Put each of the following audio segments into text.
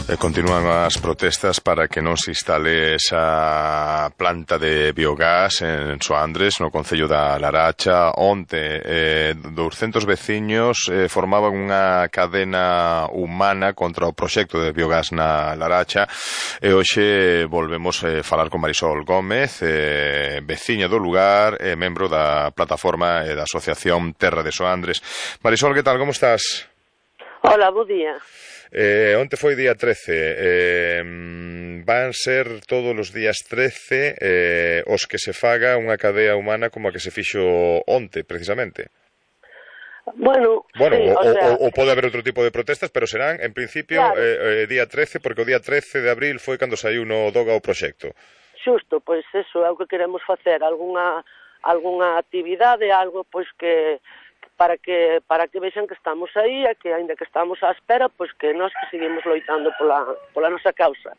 Continúan as protestas para que non se instale esa planta de biogás en Soandres, no concello da Laracha. Onte, 200 veciños formaban unha cadena humana contra o proxecto de biogás na Laracha, e hoxe volvemos falar con Marisol Gómez, veciña do lugar e membro da plataforma e da asociación Terra de Soandres. Marisol, que tal, como estás? Hola, bo día. Onte foi día 13, van ser todos os días 13 os que se faga unha cadea humana como a que se fixo onte, precisamente. Bueno, sí, ou pode haber outro tipo de protestas, pero serán, en principio, claro, día 13, porque o día 13 de abril foi cando saiu no Doga o proxecto. Xusto, pois eso é o que queremos facer, algunha actividade, algo pois que para que vexan que estamos aí e que, aínda que estamos á espera, pois que nós que seguimos loitando pola nosa causa.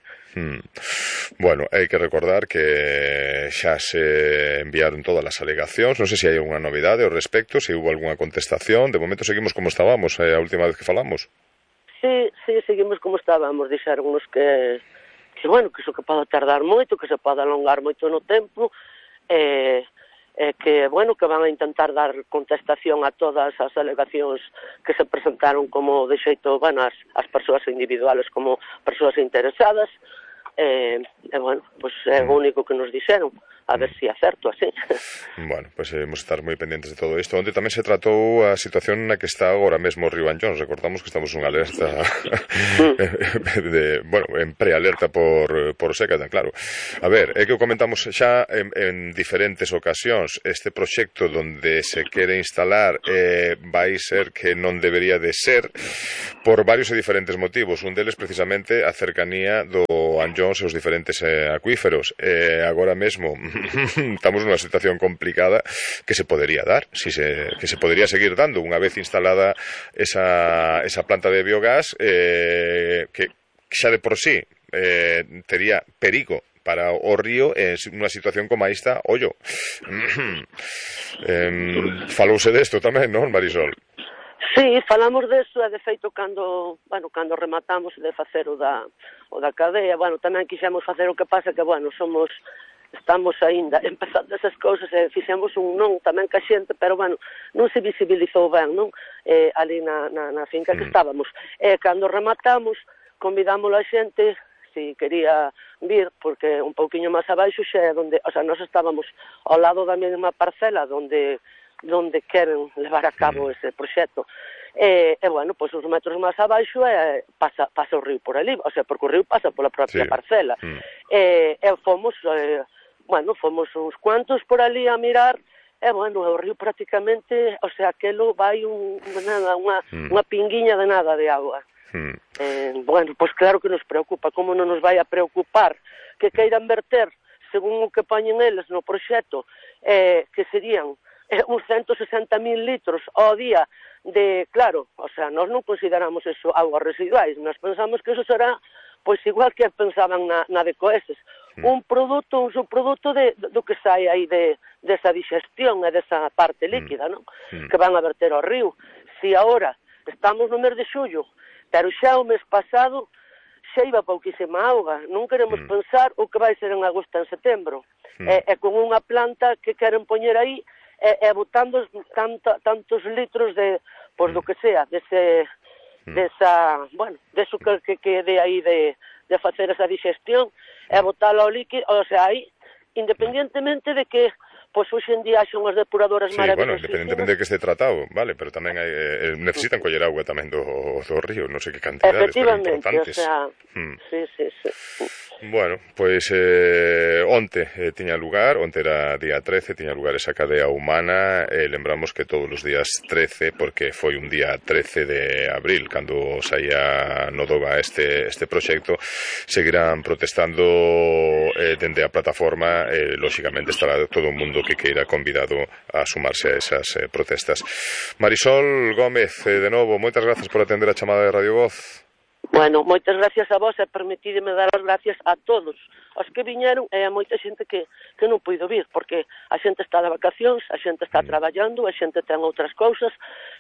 Bueno, hai que recordar que xa se enviaron todas as alegacións, non sei se hai unha novidade ao respecto, se hubo algunha contestación. De momento seguimos como estábamos a última vez que falamos. Sí, seguimos como estábamos, dixéronnos que bueno, que iso que pode tardar moito, que se pode alongar moito no tempo, que, bueno, que van a intentar dar contestación a todas as alegacións que se presentaron como de xeito, bueno, as persoas individuales como persoas interesadas, bueno, pois é o único que nos dixeron, a ver se é certo así. Bueno, pois debemos estar moi pendentes de todo isto. Onde tamén se tratou a situación na que está agora mesmo o río Anllóns. Recordamos que estamos unha alerta en prealerta por seca, tan claro. A ver, é que o comentamos xa en diferentes ocasións. Este proxecto donde se quere instalar vai ser que non debería de ser por varios e diferentes motivos. Un deles precisamente a cercanía do Anllóns e os diferentes acuíferos. Agora mesmo estamos nunha situación complicada que se podería dar, que se podería seguir dando unha vez instalada esa planta de biogás, que xa de por sí tería perigo para o río en unha situación como esta. Ollo, falouse desto tamén, non, Marisol? Sí, falamos deso, e de feito cando rematamos de facer o da cadea, bueno, tamén quixemos facer o que pasa que, bueno, estamos aínda empezando esas cousas e fixemos un non tamén ca xente, pero, bueno, non se visibilizou ben, non? Ali na finca que estábamos. Cando rematamos, convidamos a xente si quería vir, porque un pouquiño máis abaixo xa é onde, o sea, nós estábamos ao lado da mesma parcela onde queren levar a cabo ese proxecto. Bueno, pois os metros máis abaixo pasa o río por ali, o sea, porque o río pasa pola propia parcela. Fomos uns cuantos por ali a mirar, bueno, o río prácticamente, o sea, aquelo vai unha pinguiña de nada de agua. Bueno, pois claro que nos preocupa, como non nos vai a preocupar que queiran verter, según o que poñen eles no proxecto, que serían uns 160.000 litros ao día de, claro, o sea, nós non consideramos eso augas residuais, nós pensamos que eso será, pois igual que pensaban na de Coeses, un subproduto do que sai aí desa digestión e desa parte líquida, non? Que van a verter ao río. Si agora estamos no mes de xullo, pero xa o mes pasado xa iba pouquísima auga, non queremos pensar o que vai ser en agosto e en setembro. E con unha planta que queren poñer aí e botando tantos litros de, pois do que sea, deso que quede aí de facer esa digestión e botalo ao líquido, o sea, aí, independientemente de que pois hoxe en día son as depuradoras maravillosísimas. Sí, bueno, independentemente de que este tratado, vale, pero tamén necesitan coller agua tamén do río, non sei que cantidades, pero importantes. Efectivamente, o sea, sí. Bueno, pois onte tiña lugar, onte era día 13, tiña lugar esa cadea humana, e lembramos que todos os días 13, porque foi un día 13 de abril, cando saía no Doga este proxecto, seguirán protestando dende a plataforma, lóxicamente estará todo o mundo que queira convidado a sumarse a esas protestas. Marisol Gómez, de novo, moitas grazas por atender a chamada de Radio Voz. Bueno, moitas gracias a vos e permitídeme dar as gracias a todos os que viñeron e a moita xente que non puido vir, porque a xente está de vacacións, a xente está traballando, a xente ten outras cousas,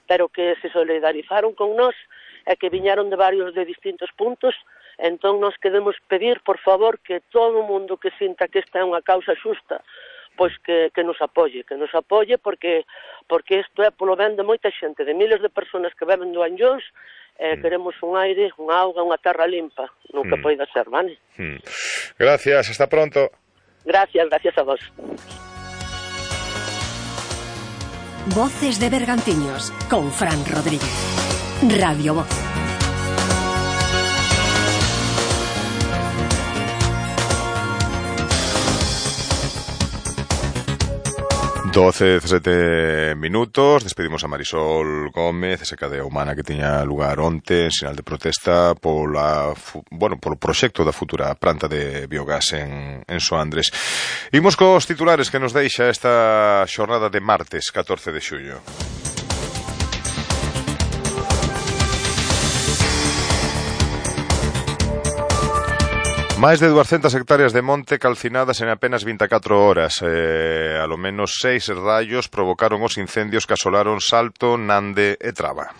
pero que se solidarizaron con nós e que viñeron de distintos puntos Entón, nós queremos pedir, por favor, que todo o mundo que sinta que esta é unha causa xusta, pois que nos apoie porque isto é polo ben de moita xente, de miles de personas que beben do Anllóns, queremos un aire, unha auga, unha terra limpa, nunca poida ser, vale? Gracias, hasta pronto. Gracias a vos. Voces de Bergantiños, con Fran Rodríguez. Radio Voz. Doce, 17 minutos, despedimos a Marisol Gómez, esa cadea humana que tiña lugar onte en sinal de protesta polo proxecto da futura planta de biogás en Soandres. Imos cos titulares que nos deixa esta xornada de martes 14 de xullo. Máis de 200 hectáreas de monte calcinadas en apenas 24 horas. Alo menos 6 raios provocaron os incendios que asolaron Salto, Nande e Traba.